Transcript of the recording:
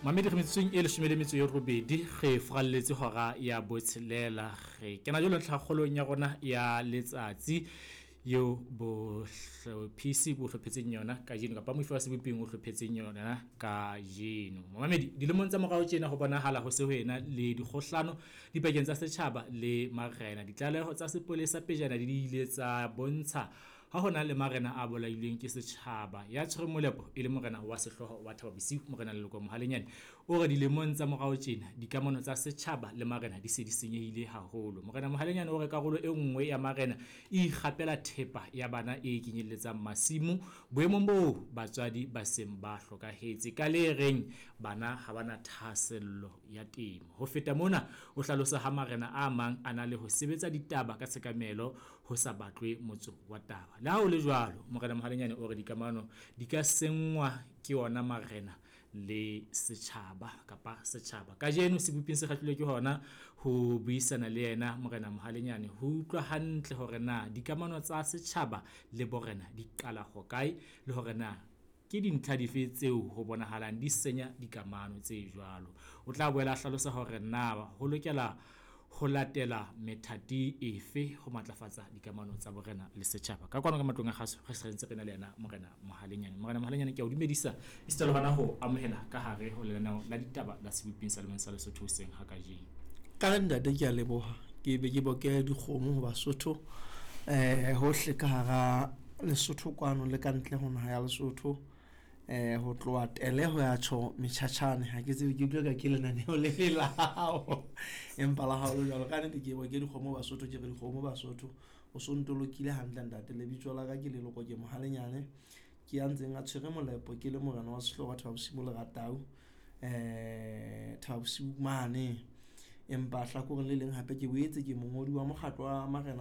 Mamedi, re metsotsong e 18 re furalletse hora ya 6. Re kena jwalo ntlhakgolong ya rona ya letsatsi eo bohlophisi bo hlophetseng yona kajeno, kapa moifo wa seboping o hlophetseng yona kajeno. Mamedi, dilemong tsa morao tjena ho bonahala ho se ho ena le dikgohlano dipakeng tsa setjhaba le marena. Ditlaleho tsa sepolesa pejana di ile tsa bontsha ha hona le marena a bolailweng ke setjhaba. Ya tshwereng molepo e le morena wa sehlooho wa Thaba Bosiu, Morena Leloko Mohalenyane, o re dilemong tsa morao tjena dikamano tsa setjhaba le marena di se di senyehile haholo. Morena Mohalenyane o re karolo e nngwe ya marena e ikgapela thepa ya bana e kenyelletsang masimo boemong boo batswadi ba seng ba hlokahetse, ka le reng bana ha ba na thahasello ya temo. Ho feta mona, o hlalosa ha marena a mang a na le ho sebetsa ditaba ka tshekamelo ho sa batlwe motso wa taba. Le ha ho le jwalo, Morena Mohalenyane o re dikamano di ka senngwa ke ona marena le setjhaba kapa setjhaba. Kajeno seboping se kgahlilwe ke hona ho buisana le yena Morena Mohalenyane ho utlwa hantle hore na dikamano tsa setjhaba le borena di qala hokae, le hore na ke dintlha dife tseo ho bonahalang di senya dikamano tse jwalo. O tla boela a hlalosa hore na ho lokela ho latela methati efe ho matlafatsa dikamano tsa borena le setjhaba. Ka kwano ka matlong a kgaso re se re ntse re na le yena Morena Mohalenyane. Morena Mohalenyane, ke a o dumedisa esita le hona ho amohela ka hare ho lenaneo la ditaba la seboping sa lemong sa Lesotho hoseng ha kajeno. Ka ntate, ke a leboha. Ke be ke boke dikgomo ho Basotho hohle ka hara Lesotho kwano le ka ntle ho naha ya Lesotho, ho tloha Tele ho ya tjho Metjhatjhane. Ha ke tsebe, ke utlwe ka ke lenaneo le le la hao, empa la hao le jwalo. Ka nnete ke boke dikgomo Basotho, ke re dikgomo Basotho, o so ntolokile hantle ntate. Lebitso la ka ke Leloko, ke Mohalenyane, ke ya ntseng a tshwere molepo, ke le morena wa sehlooho wa Thaba Bosiu Leratau, Thaba Bosiu mane. Empa hlakoreng le leng hape ke boetse ke mongodi wa mokgatlo wa marena.